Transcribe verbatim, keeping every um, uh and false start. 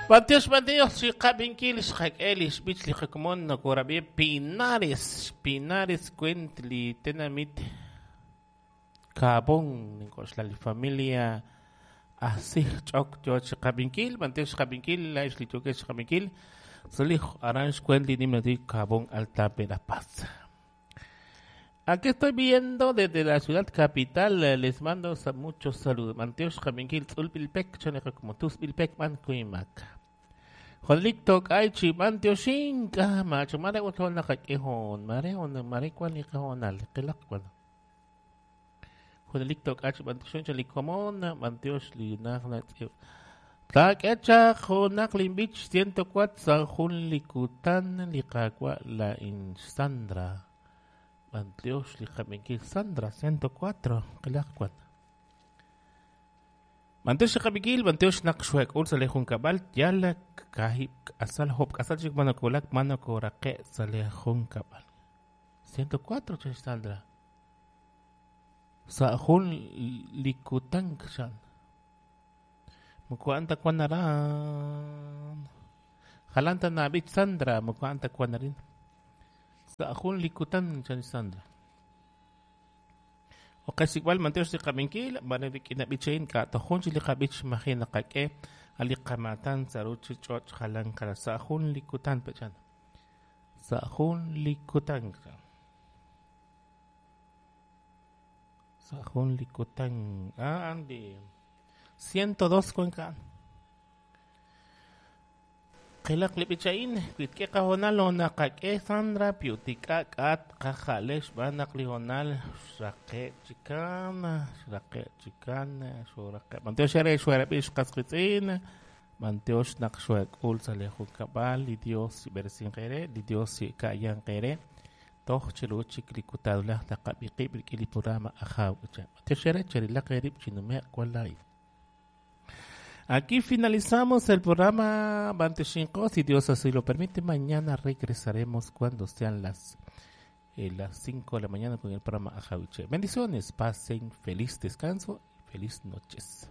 Bantiox bantiox xiqab'inkil xqak'e li xb'ich li qakomon nokorab'i Pinares Pinares kwent li tenamit Kabon nink'oxla li familia asij ch'ok yo chiqab'inkil bantiox xqab'inkil la'ex li yookeb' xqab'inkil solij aran xkwent li nimla Kabon Alta Verapaz. Aquí estoy viendo desde la ciudad capital, les mando muchos saludos. Bantiox xqab'inkil tz'ulb'ilpek chaneqa como tusb'ilpek man kuimak. Jolik tok ay chi bantioxin ka macho mare utol nakak'ihon mare on mare kwal iqahonal qilaq kwal. Jolik tok ay chi bantioxin chalikomon bantiox li naj Tlak'echa jonak limbich ciento cuatro San Jun likutan liqakwa la in Sandra. Bantiox liqab'inkil Sandra ciento cuatro qilaq kwal. Bantiox xqab'inkil bantiox naq xuek'ul sa le junkab'al yala kahib asal hop asal chik manokolak manokoraqe sa le junkab'al. ciento cuatro ch Sandra. Sa jun likutan xan. Mukuanta kwanaran. Jalanta nabich Sandra mukuanta kwanarin. Sa jun likutan chan Sandra. O kasi igual mantiox si qabinkil manerik inabichain ka tojun chi liqabich majina qak'e aliqamatan saruchi ch'och jalan kara sa jun likutan pechan. Sa jun likutan. Sa jun likutan. Ah, Andy. ciento dos cuenca. Qilaq libichain kuitke qahonal onaqak'e Sandra piutika k'at qajalex b'anaq lihonal xraqe chikana xraqe chikana xuraqe bantiox xere xuarab'ix qasqitz'in bantiox naq xuak'ul sa le junkab'al li Dios bersinqere li Dios ka'yanqere toj chiluchik likutadulaj taqab'iqib' rik'in li programa ajaw bantiox xere cherilaq erib' chinume' kualay. Aquí finalizamos el programa Banteshinko. Si Dios así lo permite, mañana regresaremos cuando sean las, eh, las cinco de la mañana con el programa Ajawiche. Bendiciones, pasen feliz descanso y feliz noches.